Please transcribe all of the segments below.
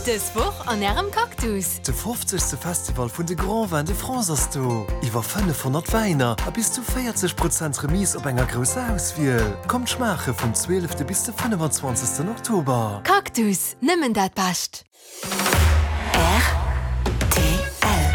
Dës Woch an Ärem Cactus. De 50. Festival vun de Grands Vins de France ass do! Iwwer 500 Wäiner a bis zu 40 Prozent Remise op enger grousser Auswiel. Kommt schmaache vum 12. bis de 25. Oktober. Cactus, nëmmen dat Bescht!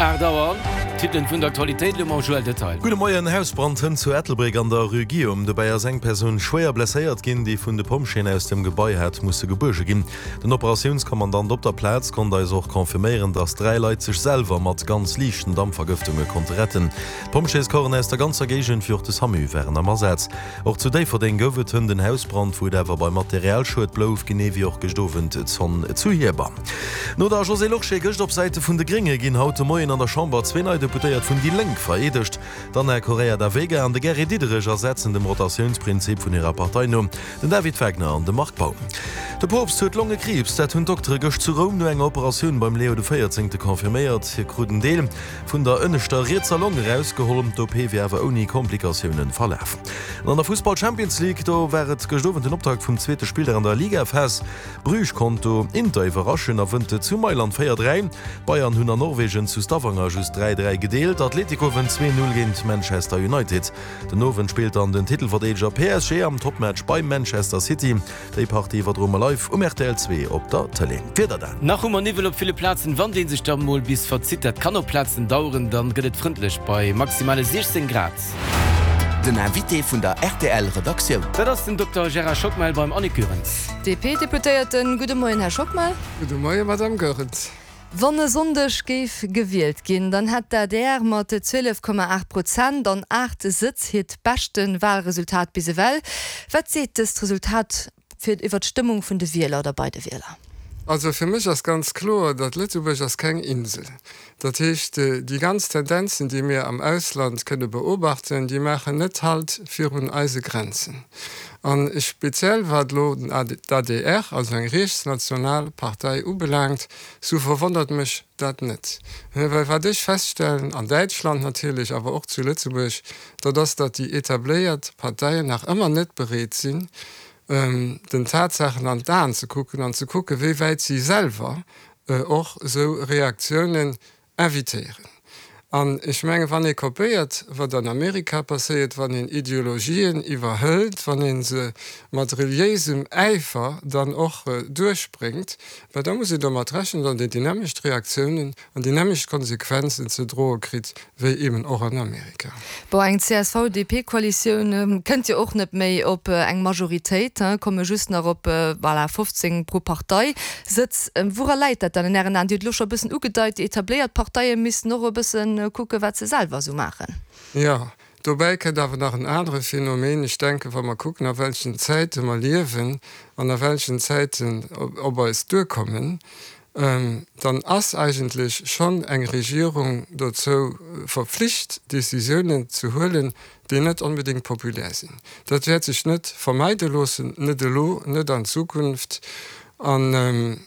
Rtl. 8 Auer, d'Titelen vun der Aktualitéit elo mam Joël Detail. Gudde Moien, Hausbrand hënt zu Ettelbréck an der Rue Guillaume. Dobäi ass eng Persoun schwéier blesséiert ginn, déi vun de Pompjeeën aus dem Gebai hat musse gebuerge ginn. Den Operatiounskommandant op der Plaz konnt eis och confirméieren, dass 3 Leit sech selwer mat ganz liichten Dampvergëftunge konnte retten. D'Pompjeescorpsen aus der ganzer Géigend, wéi och de Samu waren am Asaz. Och zu Déifferdeng gouf et hënt en Hausbrand, wou et awer beim Materialschued blouf, genee wéi och gëscht Owend d'Zonn zu Hierber. No der Josée Lorsché gëscht op Säite vun de Grénge ginn haut de Moien an der Chamber zwee nei Deputéiert vun déi Lénk vereedegt. D'Ana Correia da Veiga an de Gary Diderich ersetzen dem Rotatiounsprinzip vun hirer Partei no den David Wagner an de Marc Baum. De Poopst huet Longekriibs, dat hunn d'Doktere gëscht zu Roum no enger Operatioun beim Leo de Véierzéngte confirméiert. Hie krut en Deel vun der ënneschter rietser Long erausgeholl. D'OP wier awer ouni Komplikatioune verlaf. An an der Fussball-Champions League, do war et gëscht Owend den Optakt vum zweete Spilldag an der Ligaphas. Bruges konnt do Inter iwwerraschen a wënnt zu Mailand 4, 3. D'Bayern hunn an Norwegen zu Stavanger just 3, 3 gedeelt. Atletico wënnt 2, 0 géint Manchester United. Den Owend spillt dann den Titelverdeedeger PSG am Topmatch bei Manchester City. Déi Partie iwwerdroe mer live um rtl 2 op der Tëlee. D'Wieder dann. Nach hu mer Niwwel op ville Plazen. Wann dee sech da mol bis verzitt, dat kann op Plazen daueren, dann gëtt et frëndlech bei maximale 16 Grad. Den Invité vun der rtl Redaktioun. Dat ass den Dokter Gérard Schockmel beim Annick Goerens. DP-Deputéierten, Gudde Moien, Här Schockmel. Gudde Moien, Madame Goerens. Wann e Sonndeg géif gewielt ginn, dann hätt d'ADR mat 12,8 Prozent an 8 Sëtz hiert beschte Walresultat bis ewell. Wat seet dëst Resultat fir iwwer d'Stëmmung vun de Wieler oder bei de Wieler? Also fir mech ass ganz kloer, datt Lëtzebuerg ass keng Insel. Dat heescht, déi ganz Tendenzen, déi mir am Ausland kënne beobachten, déi maachen net Halt virun eise Grenzen. An speziell wat elo d'ADR, also eng riechtsnational Partei ubelaangt, sou verwonnert mech dat net. Well wat ech feststellen, an Däitschland natierlech, awer och zu Lëtzebuerg, dat ass, datt déi etabléiert Parteien nach ëmmer net bereet sinn, den Tatsaachen an d'Aen ze kucken an ze kucken, wéi wäit si selwer och esou Reaktiounen invitéieren. An ech mengen, wann ee kopéiert, wat an Amerika passéiert, wann een Ideologien iwwerhëlt, wann ee se mat reliéisem Äifer dann och duerchbréngt, bah da muss een domat rechnen, datt een déi nämmlecht Reaktiounen an déi nämmlecht Konsequenzen ze droe kritt wéi eben och an Amerika. Bon, eng CSV-DP-Koalitioun kënnt jo och net méi op eng Majoritéit, komme just nach op, voilà, 15 pro Partei Sëtz. Woura läit dat dann an Ären Aen? Dir hutt elo scho e bëssen ugedeit, déi etabléiert Parteie missten och e bësse kucken, wat se selwer esou maachen. Jo, dobäi kënnt awer nach en anere Phänomen. Ech denken, wa mer kucken, a welchen Zäite mer liewen an a welchen Zäiten op eis duerkommen, dann ass eigentlech schonn eng Regierung dozou verpflicht, Décisiounen ze huelen, déi net onbedéngt populär sinn. Dat wäert sech net vermeide loossen, net elo, net an Zukunft. An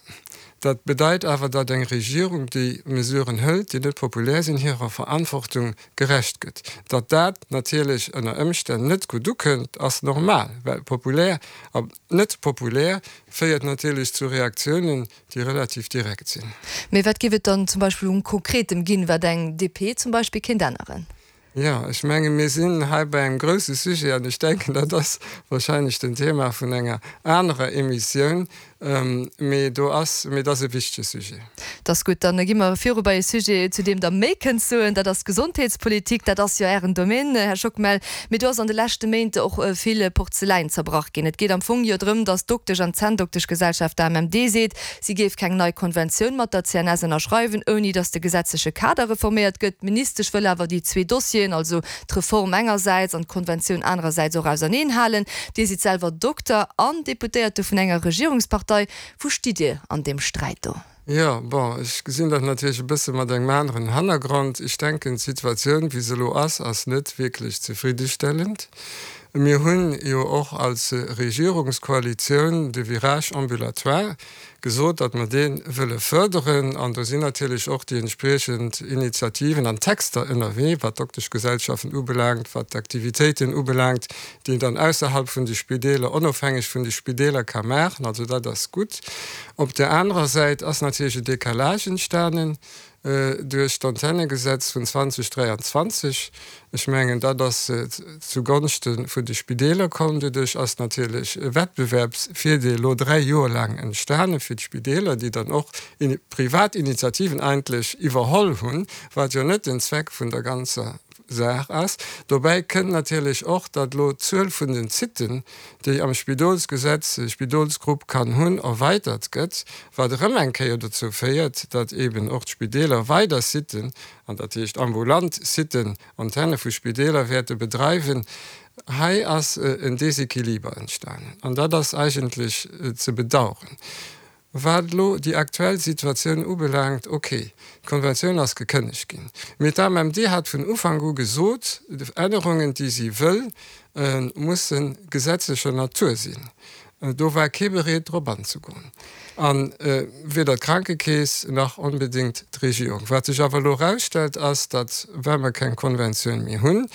dat bedeit awer, datt eng Regierung, déi Mesuren hëlt, déi net populär sinn, hirer Verantwortung gerecht gëtt. Datt dat natierlech ënner Ëmstänn net gutt ukënnt, ass normal, well populär a net populär féiert natierlech zu Reaktiounen, déi relativ direkt sinn. Mee wat géif et dann zum Beispill un Konkretem ginn, wat eng DP zum Beispill kéint änneren? Jo, ech menge mir sinn hei bei engem grousse Sujet an ech denken, dat ass wahrscheinlech den Thema vun enger anerer Emissioun, mee do ass, mee et ass e wichtege Sujet. Dat ass gutt. Dann gi mer viru bei e Sujet, zu deem Der méi kënnt soen, dat ass d'Gesondheetspolitik. Dat ass jo Ären Domaine, Här Schockmel. Mee do ass an de leschte Méint och vill Porzeläin zerbrach ginn. Et geet am Fong jo drëm, datt d'Doktesch an d'Zänndokteschgesellschaft AMMD seet, Si géif keng nei Konventioun mat der CNS ënnerschreiwen, ouni datt de gesetzleche Kader reforméiert gëtt. D'Ministesch wëll awer déi zwee Dossieren, also d'Reform engersäits an d'Konventioun anerersäits, och auserneen halen. Dir sidd selwer Dokter an Deputéierte vun enger Regierungspartei. Wou stitt Dir an deem Sträit do? Jo, bon, ech gesinn dat natierlech e bësse mat engem aneren Hannergrond. Ech denken, d'Situatioun, wéi se elo ass, ass net wierklech zefriddestellend. Mir hunn jo och als Regierungskoalitioun de Virage ambulatoire gesot, datt mer dee wëlle fërderen. An do sinn natierlech och déi entspriechend Initiativen an Texter ënnerwee, wat d'Dokteschgesellschaften ubelaangt, wat d'Aktivitéiten ubelaangt, déi een dann ausserhalb vun de Spideeler, onofhängeg vun de Spideeler ka maachen. Also dat ass gutt. Op där anerer Säit ass natierlech e Décalage entstanen duerch d'Antennegesetz vun 2023. Ech mengen, dat ass zu Gonschte vun de Spideeler komm. Doduerch ass natierlech e Wettbewerbsvirdeel elo dräi Joer laang entstane fir d'Spideeler, déi dann och privat Initiativen eigentlech iwwerholl hunn, wat jo net den Zweck vun der ganzer Saach ass. Dobäi kënnt natierlech och, datt elo d'Zuel vun den Sitten, déi am Spidolsgesetz e Spidolsgrupp kann hunn, erweitert gëtt, wat erëm eng Kéier dozou féiert, datt eeben och d'Spideeler weider Sitten, an dat heescht ambulant Sitten, Antenne vu Spideeler wäerte bedreiwen. Hei ass en Desequiliber entstanen an dat ass eigentlech ze bedauern. Wat elo déi aktuell Situatioun ubelaangt, ok, d'Konventioun ass gekënnegt ginn, mee d'AMMD hat vun Ufank u gesot, Ännerungen, déi si wëll, musse gesetzlecher Natur sinn. Do war kee bereet, drop anzegoen, a weder d'Krankekeess nach onbedéngt d'Regierung. Wat sech awer elo erausstellt, ass, datt, well mer keng Konventioun méi hunn,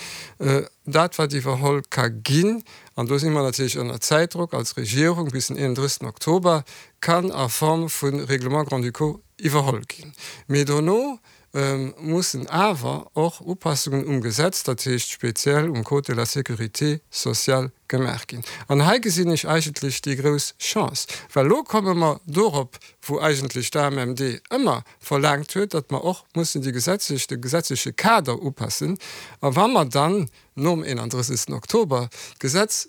dat, wat iwwerholl ka ginn, an do si mer natierlech ënner Zäitdrock als Regierung bis den 31. Oktober, kann a Form vu Règlements grand-ducaux iwwerholl ginn. Mee dono mussen awer och Upassungen um Gesetz, dat heescht speziell um Code de la sécurité sociale gemaach ginn. An hei gesinn ech eigentlech déi grouss Chance, well elo komme mer dorop, wou eigentlech d'AMMD ëmmer verlaangt huet, datt mer och mussen déi gesetzlech, de gesetzleche Kader upassen. A wa mer dann nom 31. Oktober d'Gesetz,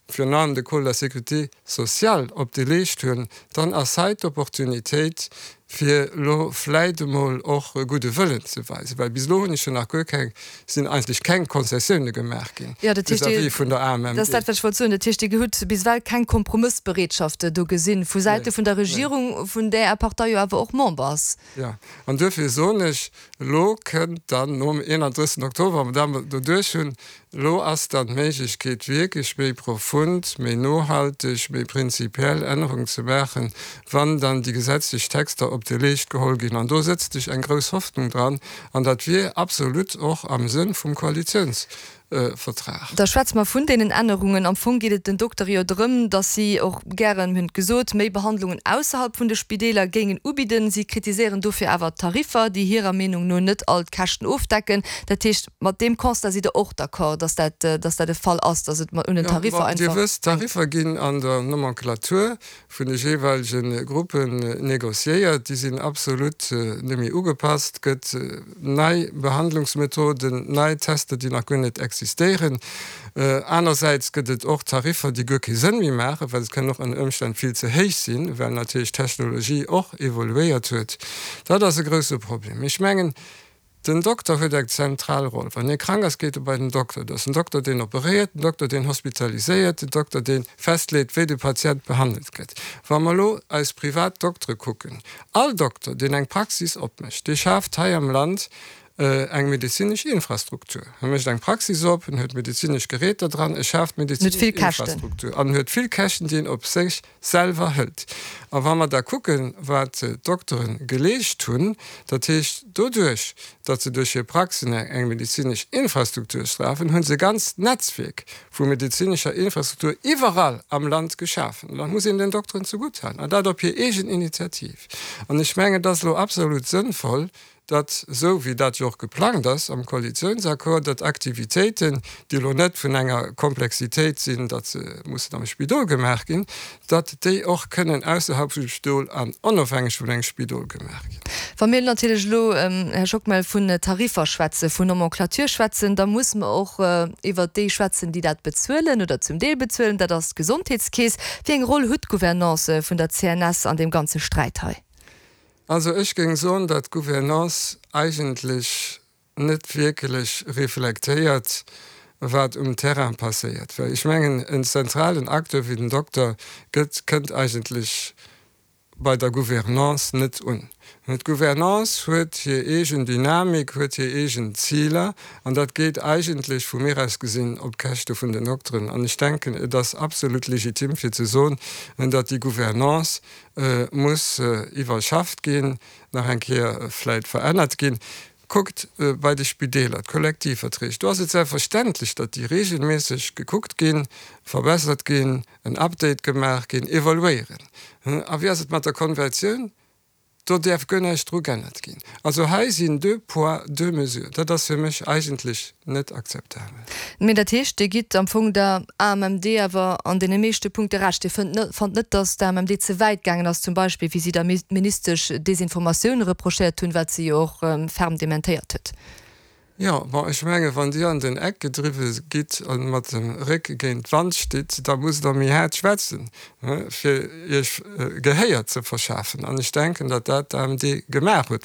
virun allem de Code de la sécurité sociale, op de Leescht hunn, dann ass hei d'Opportunitéit, fir elo vläit emol och e gudde Wëllen ze weisen, well bis elo hunn ech jo nach guer keng, sinn eigentlech keng Konzessioune gemaach ginn vis-à-vis vun der AMMD. Dat ass dat, wat ech wollt soen. Dat heescht, Dir hutt bis ewell keng Kompromëssbereetschaft do gesinn vu Säite vun der Regierung, vun där Är Partei jo awer och Member ass. Jo, an duerfir soen ech, Elo kënnt dann nom 31. Oktober, wa mer dat doduerch hunn, elo ass dann d'Méiglechkeet wierklech méi profund, méi nohalteg, méi prinzipiell Ännerungen ze maachen, wann dann déi gesetzlech Texter op de Leescht geholl ginn. An do sëtzt ech eng grouss Hoffnung dran an dat wier absolut och am Sënn vum Koalitiouns. Vertrag. Da schwätze mer vun deenen Ännerungen. Am Fong geet et den Doktere jo drëm, datt si och gären, mir hunn et gesot, méi Behandlungen ausserhalb vun de Spideeler géingen ubidden. Si kritiséieren dofir awer d'Tariffer, déi hirer Meenung no net all d'Käschten ofdecken. Dat heescht, mat deem Constat sidd Der och d'accord, datt dat, datt dat e Fall ass, datt et un den Tariffer einfach Dir wësst, d'Tariffer ginn an der Nomenclature vun de jeeweilege Gruppen négociéiert, déi sinn absolut net méi ugepasst, gëtt nei Behandlungsmethoden, nei Tester, déi nach guer net existéieren. Anersäits gëtt et och Tariffer, déi guer kee Sënn méi maachen, well se kënnen och ënner Ëmstänn vill ze héich sinn, well natierlech d'Technologie och evoluéiert huet. Dat ass e grousse Problem. Ech mengen, Den Dokter huet eng zentral Roll. Wann ee krank ass, geet e bei den Dokter. Et ass den Dokter, deen operéiert, den Dokter, deen hospitaliséiert, den Dokter, dee festleet, wéi de Patient behandelt gëtt. Wa mer elo eis privat Doktere kucken, all Dokter, deen eng Praxis opmécht, dee schaaft hei am Land eng medezinesch Infrastruktur. E mécht eng Praxis op, en huet medezinesch Geräter dran, e schaaft medezinesch Infrastruktur an en huet vill Käschten, déi en op sech selwer hëlt. A wa mer da kucken, wat d'Doktere geleescht hunn, dat heescht doduerch, datt se duerch hir Praxen eng medezinesch Infrastruktur strafen, hu se e ganzt Netzwierk vu medezinescher Infrastruktur iwwerall am Land geschafen. An dat muss een den Dokteren zegutthalen, an dat op hir eegen Initiativ. An ech mengen, et ass elo absolut sënnvoll, datt, esou wéi dat jo och geplangt ass am Koalitiounsaccord, datt Aktivitéiten, déi elo net vun enger Komplexitéit sinn, datt se mussen am Spidol gemaach ginn, datt déi och kënnen ausserhalb vum Spidol an onofhängeg vun engem Spidol gemaach ginn. Wa mir natierlech elo, Här Schockmel, vun Tariffer schwätzen, vun Nomenclature schwätzen, da musse mer och iwwert déi schwätzen, déi dat bezuelen oder zum Deel bezuelen, dat ass d'Gesondheetskeess. Wéi eng Roll hutt d'Gouvernance vun der CNS an deem ganze Sträit hei? Also ech géing soen, datt d'Gouvernance eigentlech net wierklech reflektéiert, wat um Terrain passéiert. Well ech mengen, en zentralen Acteur wéi den Dokter gëtt, kënnt eigentlech. bei der Gouvernance net un. D'Gouvernance huet hir eegen Dynamik, huet hir eegen Ziler, an dat geet eigentlech, vu mir aus gesinn, op Käschte vun den Dokteren. An ech denken, et ass absolut legitim fir ze soen, datt déi Gouvernance muss iwwerschafft ginn, nach eng Kéier vläit verännert ginn. Kuckt bei de Spideeler, d'Kollektivverträg, do ass et selbstverständlech, datt déi regelméisseg gekuckt ginn, verbessert ginn, en Update gemaach ginn, evaluéieren. A wéi ass et mat der Konvertioun? Do däerf guer näischt dru g'ännert ginn. Also hei sinn deux poids, deux mesures. Dat ass fir mech eigentlech net akzeptabel. Mee dat heescht, Dir gitt am Fong der AMMD awer an deene meeschte Punkte Recht. Dir fënnt net, fannt net, datt d'AMMD ze wäit gaangen ass, zum Beispill wéi si der Ministesch Desinformatioun reprochéiert hunn, wat si jo och ferm dementéiert huet. Jo, bon, ech menge wann Dir an den Eck gedriwwe gitt a mat dem Réck géint d'Wand stitt, da musst Der méi haart schwätzen, fir Iech Gehéier ze verschafen. An ech denken, datt dat d'AMD gemaach huet.